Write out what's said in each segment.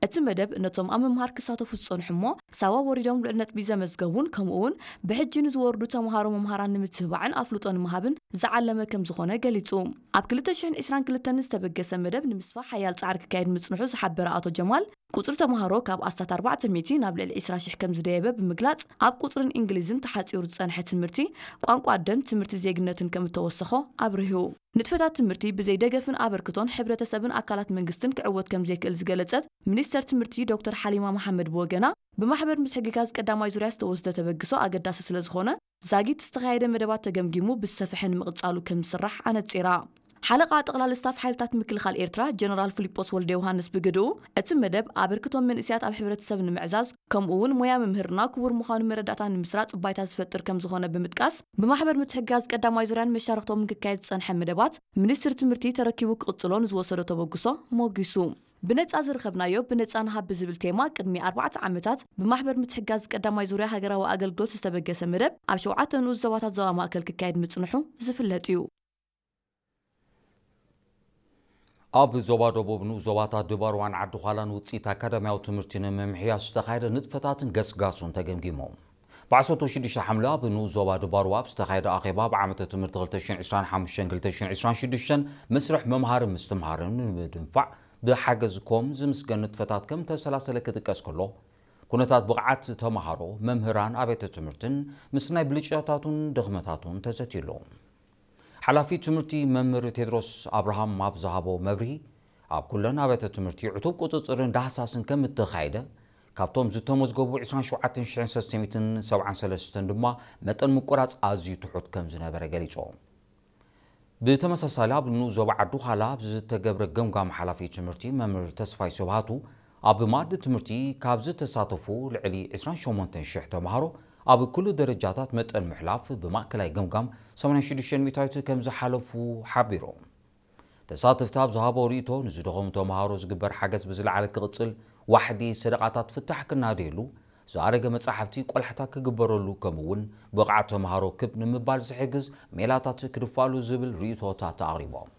እቲ መደብ ነቶም ኣብ ምምሃር ክሳተፉ ዝጸንሑ እሞ ሳዋ ወሪዶም ልዑል ነጥቢ ዘመዝገቡን ከምኡ እውን ብሕጂ ንዝወርዱ ተምሃሮ መምሃራን ንምትብባዕን ኣፍልጦ ንምሃብን ዝዓለመ ከም ዝኾነ ገሊጹ። ኣብ ክልተ ሽሕን ዕስራን ክልተን ዝተበገሰ መደብ ንምስፋሕ ሓያል ጻዕሪ ክካየድ ምጽንሑ ዝሓበረ ኣቶ ጀማል፣ ቁጽሪ ተምሃሮ ካብ ኣስታት ኣርባዕተ ሚእቲ ናብ ልዕሊ ዕስራ ሽሕ ከም ዝደየበ ብምግላጽ፣ ኣብ ቁጽርን እንግሊዝን ተሓጺሩ ዝጸንሐ ትምህርቲ ቋንቋ ኣደን ትምህርቲ ዜግነትን ከም እተወሰኾ ኣብሪሁ። ንጥፈታት ትምህርቲ ብዘይ ደገፍን ኣበርክቶን ሕብረተሰብን ኣካላት መንግስትን ክዕወት ከም ዘይክእል ዝገለጸት ሚኒስተር ትምህርቲ ዶክተር ሓሊማ መሓመድ ብወገና፣ ብማሕበር ምትሕግጋዝ ቀዳማይ ዙርያ ዝተወስደ ተበግሶ ኣገዳሲ ስለ ዝኾነ፣ ዛጊት ዝተኻየደ መደባት ተገምጊሙ ብዝሰፍሐ ንምቕጻሉ ከም ዝስራሕ ኣነጺራ። ሓለቓ ጠቕላሊ ስታፍ ሓይልታት ምክልኻል ኤርትራ ጀነራል ፊሊጶስ ወልደ ዮሃንስ ብግድኡ፣ እቲ መደብ ኣበርክቶ መንእሰያት ኣብ ሕብረተሰብ ንምዕዛዝ፣ ከምኡ እውን ሞያ ምምህርና ክቡር ምዃኑ መረዳእታ ንምስራጽ ባይታ ዝፈጥር ከም ዝኾነ ብምጥቃስ፣ ብማሕበር ምትሕግጋዝ ቀዳማይ ዙርያን መሻርኽቶምን ክካየድ ዝጸንሐ መደባት፣ ሚኒስትሪ ትምህርቲ ተረኪቡ ክቕጽሎ ንዝወሰዶ ተበግሶ ሞጊሱ። ብነጻ ዝረኸብናዮ ብነጻ ንሃብ ብዝብል ቴማ ቅድሚ ኣርባዕተ ዓመታት ብማሕበር ምትሕግጋዝ ቀዳማይ ዙርያ ሃገራዊ ኣገልግሎት ዝተበገሰ መደብ ኣብ ሸውዓተ ንኡስ ዞባታት ዞባ ማእከል ክካየድ ምጽንሑ ዝፍለጥ እዩ። ኣብ ዞባ ደቡብ ንኡስ ዞባታት ድባርዋን ዓዲ ዃላን ውጽኢት ኣካዳሚያዊ ትምህርቲ ንምምሕያሽ ዝተኻየደ ንጥፈታትን ገስጋሱን ተገምጊሙ። ብዓሰርተ ሽዱሽተ ሓምለ ኣብ ንኡስ ዞባ ድባርዋ ኣብ ዝተኻየደ ኣኼባ፣ ብዓመተ ትምህርቲ ክልተ ሽሕን ዕስራን ሓሙሽተን ክልተ ሽሕን ዕስራን ሽዱሽተን መስርሕ መምሃርን ምስትምሃርን ንምድንፋዕ ብሓገዝ ኮም ዝምስገን ንጥፈታት ከም ተሰላሰለ ክጥቀስ ከሎ፣ ኩነታት ብቕዓት ተምሃሮ፣ መምህራን፣ ኣብያተ ትምህርትን ምስ ናይ ብልጫታቱን ድኽመታቱን ተዘትዩሉ። ሓላፊ ትምህርቲ መምህር ቴድሮስ ኣብርሃም ኣብ ዝሃቦ መብርሂ፣ ኣብ ኩለን ኣብያተ ትምህርቲ ዕቱብ ቁጽጽርን ዳህሳስን ከም እተኻየደ፣ ካብቶም ዝተመዝገቡ ዕስራን ሸውዓተን ሽሕን ሰለስተ ሚእትን ሰብዓን ሰለስተን ድማ መጠን ምቁራጽ ኣዝዩ ትሑት ከም ዝነበረ ገሊጹ። ብተመሳሳሊ ኣብ ንኡስ ዞባ ዓዲ ዃላ ኣብ ዝተገብረ ገምጋም ሓላፊ ትምህርቲ መምህር ተስፋይ ስብሃቱ፣ ኣብ መኣዲ ትምህርቲ ካብ ዝተሳተፉ ልዕሊ ዕስራን ሸሞንተን ሽሕ ተምሃሮ ኣብ ኩሉ ደረጃታት መጠን ምሕላፍ ብማእከላይ ገምጋም ሰማንያን ሽዱሽተን ሚእታዊት ከም ዝሓለፉ ሓቢሩ። ተሳተፍቲ ኣብ ዝሃቦ ርእይቶ፣ ንዝደኸሙ ተምሃሮ ዝግበር ሓገዝ ብዝለዓለ ክቕጽል፣ ዋሕዲ ሰደቓታት ፍታሕ ክናደየሉ፣ ዝኣረገ መጻሕፍቲ ቆላሕታ ክግበረሉ፣ ከምኡ እውን ብቕዓት ተምሃሮ ክብ ንምባል ዝሕግዝ ሜላታት ክድፋሉ ዝብል ርእይቶታት ኣቕሪቦም።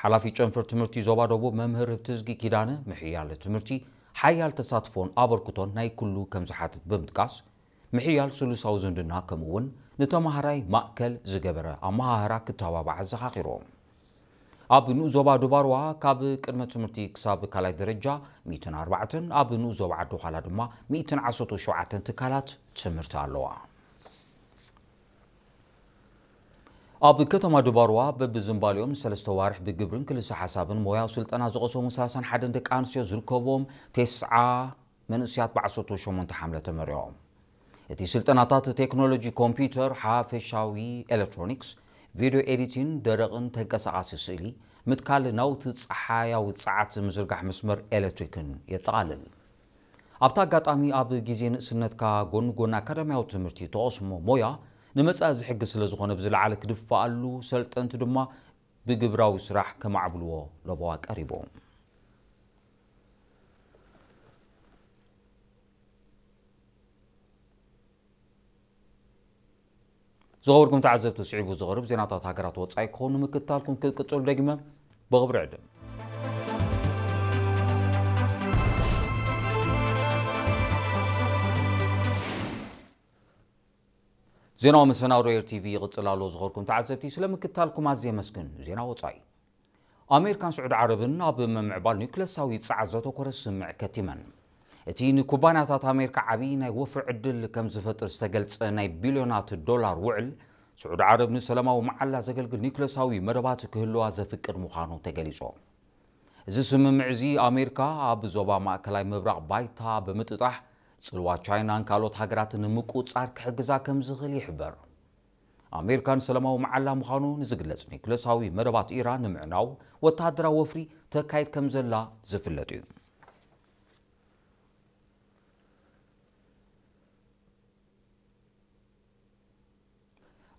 ሓላፊ ጨንፈር ትምህርቲ ዞባ ደቡብ መምህር ህብትዝጊ ኪዳነ፣ ምሕያል ትምህርቲ ሓያል ተሳትፎን ኣበርክቶን ናይ ኩሉ ከም ዝሓትት ብምጥቃስ፣ ምሕያል ስሉሳዊ ዝምድና ከምኡ እውን ንተምሃራይ ማእከል ዝገበረ ኣመሃህራ ክተባባዕ ኣዘኻኺሩ። ኣብ ንኡስ ዞባ ድባርዋ ካብ ቅድመ ትምህርቲ ክሳብ ካልኣይ ደረጃ ሚእትን ኣርባዕተን፣ ኣብ ንኡስ ዞባ ዓዲ ዃላ ድማ ሚእትን ዓሰርተ ሸውዓተን ትካላት ትምህርቲ ኣለዋ። ኣብ ከተማ ድባርዋ በብዝንባሌኦም ንሰለስተ ዋርሕ ብግብርን ክልሰ ሓሳብን ሞያዊ ስልጠና ዝቐሰሙ ሰላሳን ሓደን ደቂ ኣንስትዮ ዝርከብዎም ተስዓ መንእሰያት ብዓሰርተ ሸሞንተ ሓምለ ተመሪቖም። እቲ ስልጠናታት ቴክኖሎጂ ኮምፒውተር፣ ሓፈሻዊ ኤሌክትሮኒክስ፣ ቪድዮ ኤዲቲን፣ ደረቕን ተንቀሳቓሲ ስእሊ፣ ምትካል ናውቲ ጸሓያዊ ጸዓት፣ ምዝርጋሕ መስመር ኤሌክትሪክን የጠቓልል። ኣብቲ ኣጋጣሚ ኣብ ግዜ ንእስነትካ ጎኒ ጎኒ ኣካዳሚያዊ ትምህርቲ ተቐስሞ ሞያ ንመጻኢ ዝሕግዝ ስለ ዝኾነ ብዝለዓለ ክድፋኣሉ፣ ሰልጠንቲ ድማ ብግብራዊ ስራሕ ከማዕብልዎ ለበዋ ቀሪቡ። ዝኸበርኩም ተዓዘብቲ፣ ስዒቡ ዝቐርብ ዜናታት ሃገራት ወጻኢ ክኸውን ንምክትታልኩም ክትቅጽሉ ደጊመ ብኽብሪ ዕድም። ዜናዊ መሰናዶ ኤር ቲቪ ይቕጽል ኣሎ። ዝኸበርኩም ተዓዘብቲ፣ ስለ ምክትታልኩም ኣዝየ የመስግን። ዜና ወጻኢ። ኣሜሪካን ስዑዲ ዓረብን ኣብ ምምዕባል ኒውክለሳዊ ጸዓት ዘተኮረ ስምምዕ ከቲመን። እቲ ንኩባንያታት ኣሜሪካ ዓቢ ናይ ወፍሪ ዕድል ከም ዝፈጥር ዝተገልጸ ናይ ቢልዮናት ዶላር ውዕል፣ ስዑዲ ዓረብ ንሰላማዊ መዓላ ዘገልግል ኒውክለሳዊ መደባት ክህልዋ ዘፍቅድ ምዃኑ ተገሊጹ። እዚ ስምምዕ እዚ ኣሜሪካ ኣብ ዞባ ማእከላይ ምብራቕ ባይታ ብምጥጣሕ፣ ጽልዋ ቻይናን ካልኦት ሃገራትን ንምቁጽጻር ክሕግዛ ከም ዝኽእል ይሕበር። ኣሜሪካ ንሰላማዊ መዓላ ምዃኑ ንዝግለጽ ኒውክለሳዊ መደባት ኢራን ንምዕናው ወተሃደራዊ ወፍሪ ተካይድ ከም ዘላ ዝፍለጥ እዩ።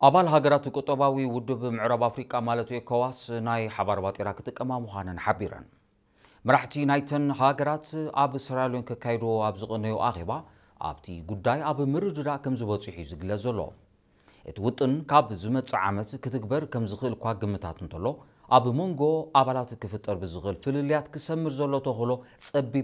ኣባል ሃገራት ቁጠባዊ ውድብ ምዕራብ ኣፍሪቃ ማለት ኤኮዋስ ናይ ሓባር ባጤራ ክጥቀማ ምዃነን ሓቢረን። መራሕቲ ናይተን ሃገራት ኣብ ሰራልዮን ከካይድዎ ኣብ ዝቐነዮ ኣኼባ ኣብቲ ጉዳይ ኣብ ምርድዳእ ከም ዝበጽሑ እዩ ዝግለጽ ዘሎ። እቲ ውጥን ካብ ዝመጽእ ዓመት ክትግበር ከም ዝኽእል እኳ ግምታት እንተሎ፣ ኣብ መንጎ ኣባላት ክፍጠር ብዝኽእል ፍልልያት ክሰምር ዘሎ ተኽእሎ ጸቢብ